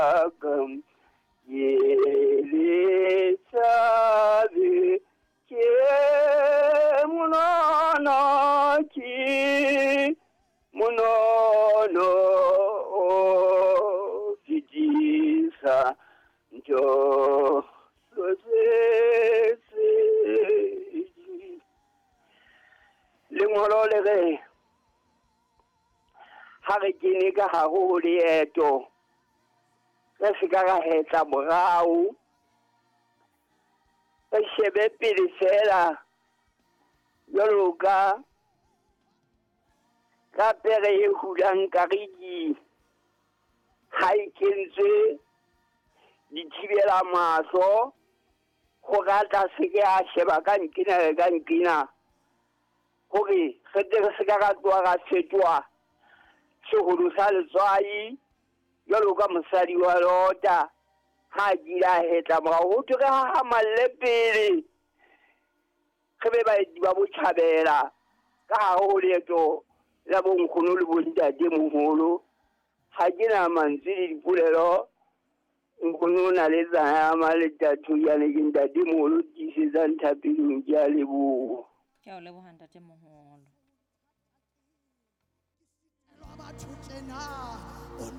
Ka ke le tšhabe ke monono ke monono o fetisa ntho tse. Lengolo le re ha re kene ka hare ho leeto, re se ka ra hetla morao, re shebe pele fela jwalo ka pere e hulang kariki ha e kentswe dithibela mahlo hore a tla se ke a sheba ka nqena le ka nqena, hore re tle re se ka ra tloha ra fetoha seholo sa letswai jwalo ka mosadi wa Lota ha a kile a hetla morao. Ho thwe re hahamalle pele, re be baeti ba botjhabela ka hare ho leeto la bonkgono le bontate moholo. Ha ke na mantswe le dipolelo. Nkgono o na le tsaya le tathoyane ke ntate moholo tiisetsang thapelong. Ke a leboha. Ke a o leboha, ntate moholo. Batho tjena o.